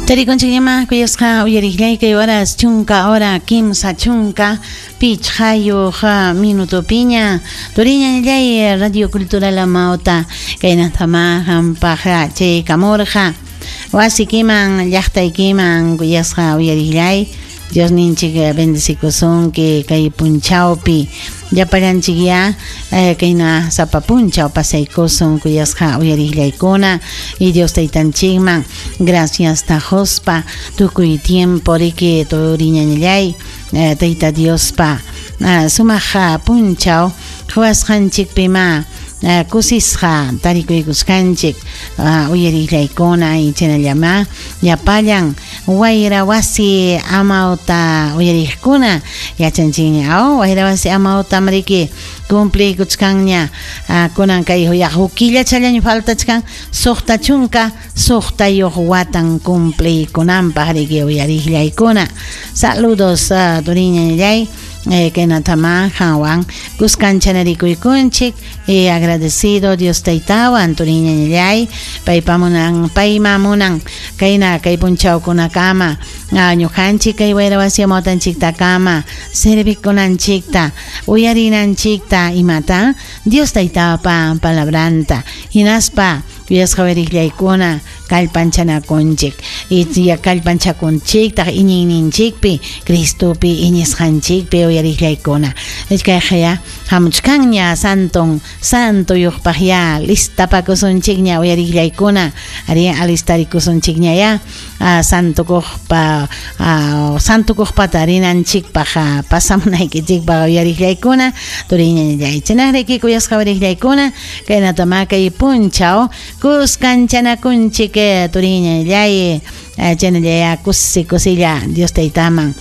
Tarikunchikñamá kuyasqa uyariqllay kay horas chunka hora 35 minutopiña turiñallay Radio Cultural Amauta kaynatamá qampaq chaykamurqa wasikiman llaqtaykiman kuyasqa uyariqllay Diosninchik bendecikusunki kay punchawpi llapallanchikyá kayna sapa punchaw pasaykusun kuyasqa uyariqllaykuna y Dios taytanchikman graciasta quspa tukuy tiempo riki turiñañallay tayta Diospa sumaq punchaw quwasqanchikpimá kusisqa tarikuykusqanchik uyariqllaykuna y chaynallamá llapallan wayra wasi amawta uyariqkuna yachanchikña aw wayra wasi amawtam riki cumpliykuchkanña kunan kay huk killachallaña faltachkan 66 watan cumpliykunanpaq riki uyariqllaykuna. Saludos turiñallay kaynatamá qanwan kuskanchanarikuykunchik y agradecido Dios taytawan turiñallay paypa munan payma munan kayna kay punchawkunakama ñuqanchik kay wayra wasi amawtanchiktakama servikunanchikta uyarinanchikta imata Dios taytapa palabranta hinaspa kuyasqa uyariqllaykuna kallpanchanakunchik y kallpanchakunchiktaq iñiyninchikpi Cristopi iñisqanchikpi uyariqllaykuna kayqa hamuchkanña santon santuyuqpaq ya listapakusunchikña uyariqllaykuna ari alistarikusunchikña ya santukuqpa santukuqpata rinanchikpaq pasamunaykichikpaq uyariqllaykuna turiñallay chaynaqriki kuyasqa uyariqllaykuna kaynatama kay punchaw kuskanchanakunchik turiñallay chaynallaya kusi kusilla Dios taytaman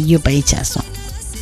yupaychasun.